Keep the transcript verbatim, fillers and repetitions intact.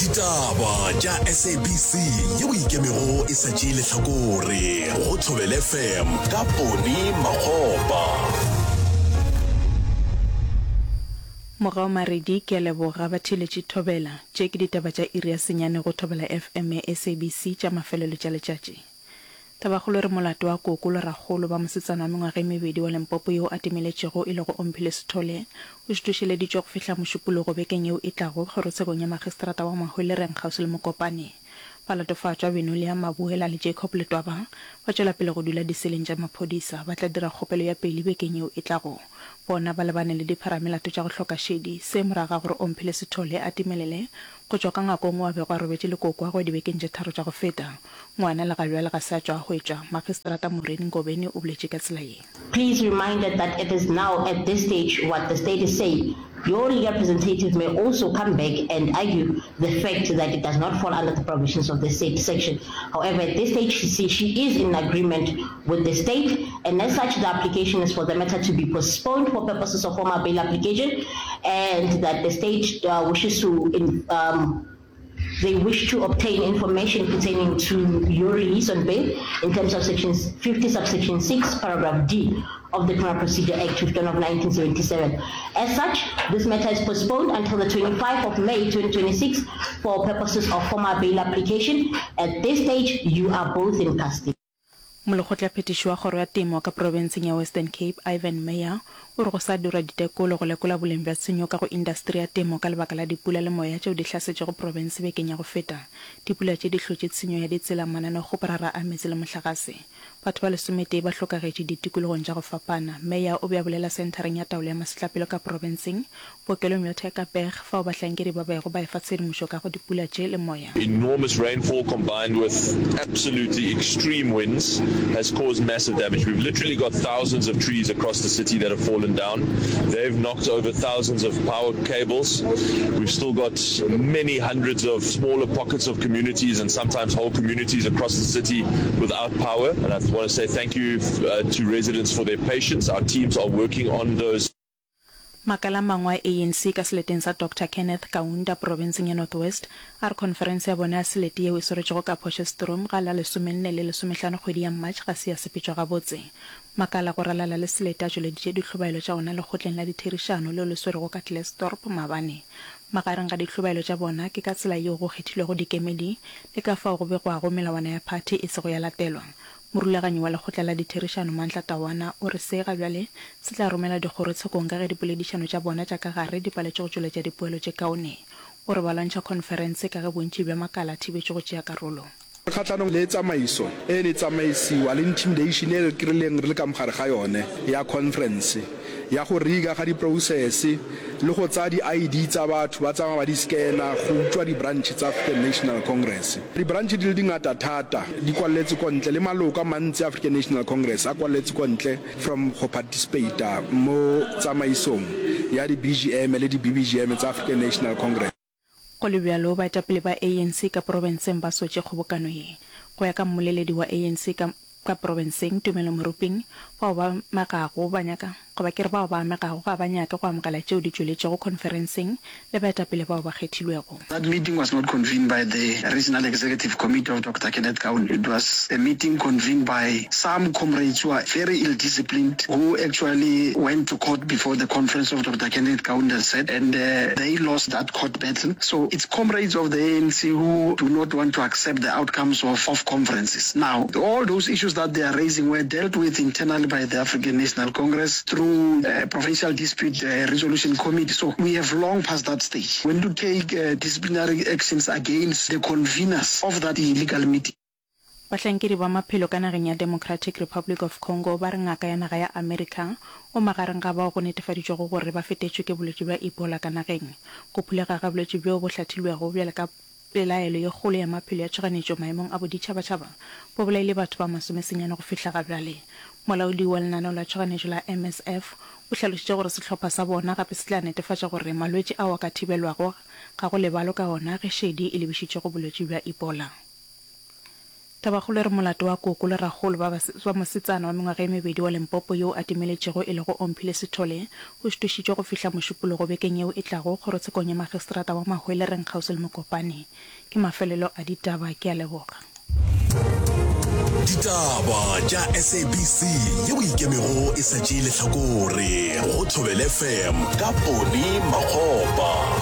Ditaba tša S A B C yeo ikemego e sa tšee lehlakore go Thobela F M ka Poni Makgopa. Mogau Maredi, ke a leboga batheeletši Thobela. Tše ke ditaba tša iri ya senyane go Thobela F M ya S A B C tša mafelelo tša letšatši. Tabakgolo e re molato wa koko le rakgolo ba mosetsana wa mengwaga e mebedi wa Limpopo yo a timeletšego e lego Omphile Sithole o šutušeleditšwe go fihla Mošupologo bekeng yeo e tlago kgorotshekong ya magistrata wa Mahwelereng kgauswi le Mokopane. Balatofatšwa Benolia Mabuela le Jacob Letwaba ba tšwela pele go dula diseleng tša maphodisa. Ba tla dira kgopelo ya peili bekeng yeo e tlago. Bona ba lebane le dipharamelato tša go hloka šedi. Se morago ga gore Omphile Sithole a timelele go tšwa ka ngwakong wo a bego a robetše le kokoagwe dibekeng tše tharo tša go feta. Ngwana le ga bjale ga se a tšwa a hwetšwa. Magistrata Maureen Ngobeni o boletše ka tsela ye. Please reminded that it is now at this stage what the state is saying. Your legal representative may also come back and argue the fact that it does not fall under the provisions of the said section. However, at this stage she, she is in agreement with the state, and as such the application is for the matter to be postponed for purposes of formal bail application, and that the state uh, wishes to in, um, they wish to obtain information pertaining to your release on bail in terms of section fifty subsection six paragraph D of the Criminal Procedure Act fifteen of nineteen seventy-seven. As such, this matter is postponed until the twenty-fifth of May twenty twenty-six for purposes of formal bail application. At this stage, you are both in custody. Molekgotlaphethiši wa kgoro ya temo ka profenseng ya Western Cape, Ivan Meyer, o re go sa dirwa ditekolo go lekola boleng bja tshenyo ka go indasteri ya temo ka lebaka la dipula le moya tšeo di hlasetšego profense bekeng ya go feta. Dipula tše di hlotše tshenyo ya ditsela, mananeokgoparara a meetse le mohlagase. Batho ba lesometee ba hlokagetše ditikologong tša go fapana. Meyer o be a bolela senthareng ya taolo ya masetlapelo ka profenseng, bookelong bja Tygerberg, fao bahlankedi ba bego ba efa tshedimošo ka go dipula tše le moya. Enormous rainfall combined with absolutely extreme winds has caused massive damage. We've literally got thousands of trees across the city that have fallen down. They've knocked over thousands of power cables. We've still got many hundreds of smaller pockets of communities and sometimes whole communities across the city without power. And I want to say thank you uh, to residents for their patience. Our teams are working on those. Makala a mangwe a A N C ka seleteng sa Doctor Kenneth Kaunda profenseng ya North West a re khonferense ya bona ya selete yeo e swaretšwego ka Potchefstroom ga la lesomenne le lesomehlano kgwedi ya March ga se ya sepetšwa gabotse. Makala go ralala le selete a tšweleditše dihlobaelo tša ona lekgotleng la ditherišano leo le swerwego ka Klerksdorp maabane. Magareng ga dihlobaelo tša bona ke ka tsela yeo go kgethilwego dikemedi le ka fao go begwago melawana ya phathi e sego ya latelwa. Morulaganyi wa lekgotla la ditherišano Mandla Tawana o re se ga bjale se tla romela dikgorotshekong ka ge dipoledišano tša bona tša ka gare di paletše go tšweletša dipoelo tše kaone. O re ba lwantšha khonferense ka ge bontši bja makala a thibetšwe go tšea karolo. Kgatlhanong le tsamaiso e ne tsamaisiwa le intimidation e re kry-ileng re le ka mogare ga yone ya conference ya go riga ga di-process le go tsaya di-I D tsa batho ba tsamaya ba di scanna go utswa di-branch tsa African National Congress. Di-branch di le dingata thata di kwaletse ko ntle le maloko a mantsi African National Congress a kwaletse ko ntle from go participata mo tsamaisong ya di-B G M le di-B B G M tsa African National Congress. Go le bjalo, baetapele ba A N C ka profenseng ba sotše kgobokano ye. Go ya ka mmoleledi wa A N C ka ka profenseng, Tumelo Maruping, bao ba amegago ba nyaka goba ke re bao ba amegago ga ba nyake go amogela tšeo di tšweletšego khonferenseng le baetapele bao ba kgethilwego. That meeting was not convened by the Regional Executive Committee of Doctor Kenneth Kaunda. It was a meeting convened by some comrades who are very ill-disciplined, who actually went to court before the conference of Doctor Kenneth Kaunda said, and uh, they lost that court battle. So it's comrades of the A N C who do not want to accept the outcomes of, of conferences. Now, all those issues that they are raising were dealt with internally by the African National Congress through uh, Provincial Dispute uh, Resolution Committee. So we have long passed that stage. We need to take uh, disciplinary actions against the conveners of that illegal meeting. Bahlankedi ba maphelo ka nageng ya Democratic Republic of Congo ba re ngaka ya naga ya Amerika o magareng ga bao go netefaditšwego gore ba fetetšwe ke bolwetši bja Ebola ka nageng. Go phulega ga bolwetši bjo bo hlathilwego bjale ka pelaelo ye kgolo ya maphelo ya tšhoganetšo maemong a boditšhabatšhaba bo bolaile batho ba masomesenyane go fihla ga bjale. Molaodi wa lenaneo la tšhoganetšo la M S F o hlalošitše gore sehlopha sa bona gape se tla netefatša gore malwetši ao a ka thibelwago ga go lebalwe ka ona ge šedi e lebišitšwe go bolwetši bja Ebola. Tabakgolo e re molato wa koko le rakgolo ba ba mosetsana wa mengwaga e mebedi wa Limpopo yo a timeletšego e lego Omphile Sithole o šitošitšwe go fihla Mošupologo bekeng yeo e tlago kgorotshekong ya magistrata wa Mahwelereng kgauswi le Mokopane. Ke mafelelo a ditaba. Ke a leboga. Ditaba tša SABC yeo e ikemego e sa tšee lehlakore go Thobela FM ka Poni Makgopa.